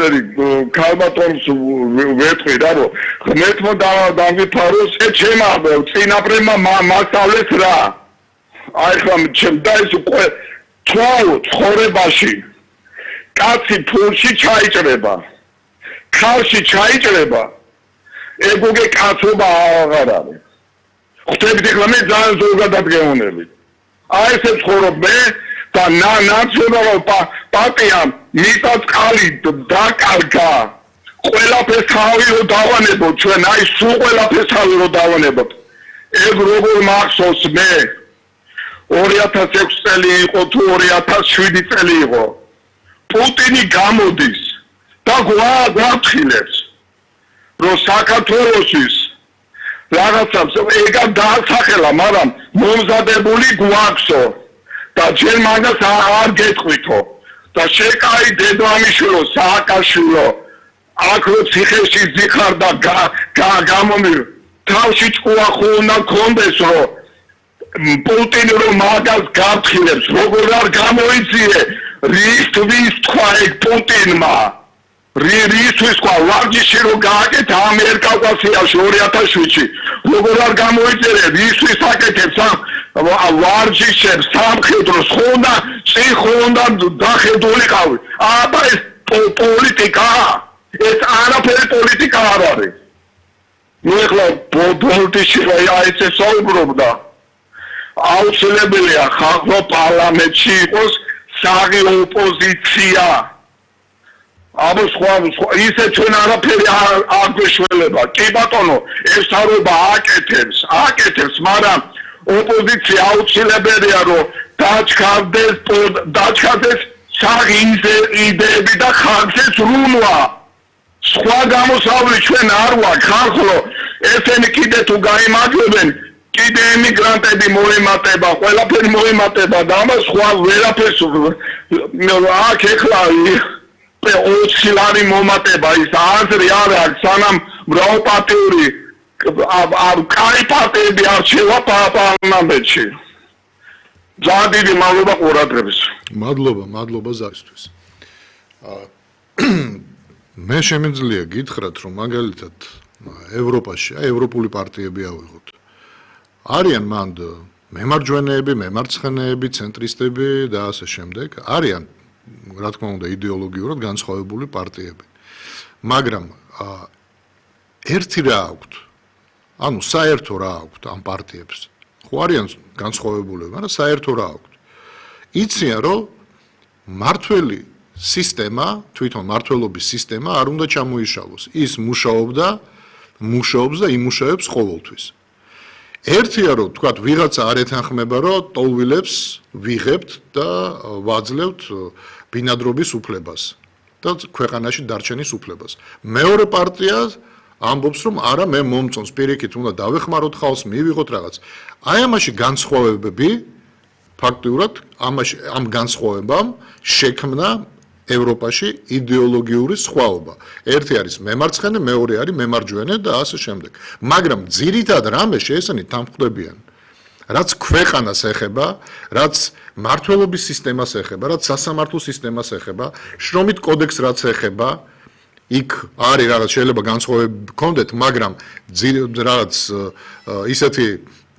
ყველაფერი ქალბატონს ვეთქვი რა რომ ღმერთმა დავიფაროს ჩემმა წინაპრებმა მასწავლეს რა აი ხა ჩემდა ეს უკვე ცხოვრებაში კაცი ფულში ჩაიჭრება ქალში ჩაიჭრება ეგუგე კაცობა აღარ არის ხვდებით ახლა მე ძალიან ზოგადად გეუბნები აი ესე ცხოვრობ მე და ნაციონალურ პარტიამ მიწა წყალი დაკარგა ყველაფერს თავი რო დავანებოთ ჩვენ აი სულ ყველაფერს თავი რო დავანებოთ ეგ როგორ მახსოვს მე 2006 წელი იყო თუ 2007 წელი იყო პუტინი გამოდის და გვაფრთხილებს რომ საქართველოსის რაღაცას ეგა დაასახელა მაგრამ მომზადებული გვაქვსო და ჯერ მაგას არ გეტყვითო და შეკაი დედამიშვილო სააკაშვილო აქ რო ციხეში ზიხარდა გამომი თავში ჭკუა ხო უნდა გქონდეს რომ პუტინი რომ მაგას გაფრთხილებს როგორ არ გამოიწიე რისთვის თქვა ეგ პუტინმა რისთვის თქვა ვარჯიში რომ გააკეთა ამერკავკასიაში 2007-ში როგორ არ გამოიწერე რისთვის აკეთებს ვარჯიშებს სამხედროს ხონდა ციხონდა დახედულიყავი აბა ეს პოლიტიკა ეს არაფერი პოლიტიკა არ არის ნუ ეხლა ბოლტიში აი ეს საუბრობდა აუცილებელია ხალხო პარლამენტში იყოს საღი ოპოზიცია აბა სხვა ისე ჩვენ არაფერი არ გვეშველება კი ბატონო ეს თავობა აკეთებს მაგრამ ოპოზიცია აუცილებელია რომ დაჩქარდეს საღი იდეები და ხალხს სრულვა სხვა გამოსავალი ჩვენ არ ვარ ხალხო ესენი კიდე თუ გაიმაგრებენ კიდე ემიგრანტები მოემატება ყველაფერი მოემატება და ამას სხვა ვერაფერს აქ ეხლა 20 ლარი მომატება ის აზრი არ აქვს სანამ მრავალპარტიული კაი პარტიები არჩევა პარლამენტში ძალიან დიდი მადლობა ყურადღებას მადლობა ზარისთვის მე შემიძლია გითხრათ რომ მაგალითად ევროპაში ევროპული პარტიები ავიღოთ არიან მანდ მემარჯვენეები, მემარცხენეები, ცენტრისტები და ასე შემდეგ არიან რა თქმა უნდა იდეოლოგიურად განსხვავებული პარტიები მაგრამ ერთი რა აქვთ ანუ საერთო რა აქვთ ამ პარტიებს ხო არიან განსხვავებულები მაგრამ საერთო რა აქვთ იციან რომ მართველი სისტემა თვითონ მართველობის სისტემა არ უნდა ჩამოიშალოს ის მუშაობს და იმუშავებს ყოველთვის ერთია რომ თქვათ ვიღაცა არ ეთანხმება რომ ტოლვილებს ვიღებთ და ვაძლევთ ბინადრობის უფლებას და ქვეყანაში დარჩენის უფლებას მეორე პარტია ამბობს რომ არა მე მომწონს პირიქით უნდა დავეხმაროთ ხალხს მივიღოთ რაღაც აი ამაში განსხვავებები ფაქტიურად ამ განსხვავებამ შექმნა ევროპაში იდეოლოგიური სხვაობა. ერთი არის მემარცხენე, მეორე არის მემარჯვენე და ასე შემდეგ. მაგრამ ძირითად რამე შეესწავლით თამხდებიან. რაც ქვეყანას ეხება, რაც მართლობის სისტემას ეხება, რაც სასამართლო სისტემას ეხება, შრომით კოდექსს რაც ეხება, იქ არის რაღაც შეიძლება განსხვავებები გქონდეთ, მაგრამ რაღაც ისეთი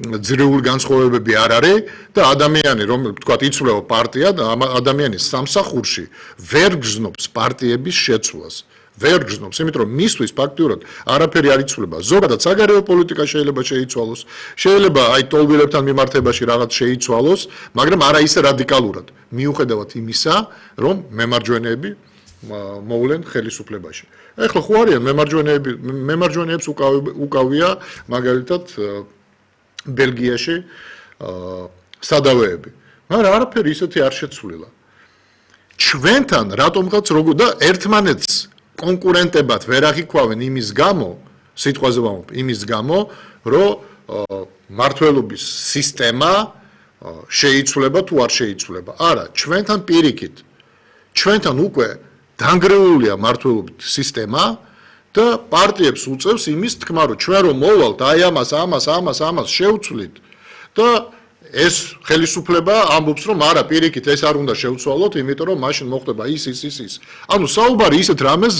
ძირეული განსხვავებები არ არის და ადამიანი რომ თქვათ იცვლება პარტია და ადამიანის სამსახურში ვერ გრძნობს პარტიების შეცვლას ვერ გრძნობს იმიტომ რომ მისთვის ფაქტიურად არაფერი არ იცვლება ზოგადად საგარეო პოლიტიკა შეიძლება შეიცვალოს შეიძლება აი ტოლვილებთან მიმართებაში რაღაც შეიცვალოს მაგრამ არა ისე რადიკალურად მიუხედავად იმისა რომ მემარჯვენეები მოვლენ ხელისუფლებაში ეხლა ხო არიან მემარჯვენეებს უკავია მაგალითად ბელგიაში სადავეები. მაგრამ არაფერი ისეთი არ შეცვლილა. ჩვენთან რატომღაც როგორ და ერთმანეთს კონკურენტებად ვერ აღიქვავენ იმის გამო, სიტყვაზე ვამბობ, იმის გამო, რომ მართლობის სისტემა შეიცვლება თუ არ შეიცვლება. არა, ჩვენთან პირიქით. ჩვენთან უკვე დანგრეულია მართლობის სისტემა და პარტიებს უწევს იმის თქმა რომ ჩვენ რომ მოვალთ აი ამას შევცვლით და ეს ხელისუფლება ამბობს რომ არა პირიქით ეს არ უნდა შევცვალოთ იმიტომ რომ მაშინ მოხდება ის ანუ საუბარი ისეთ რამეს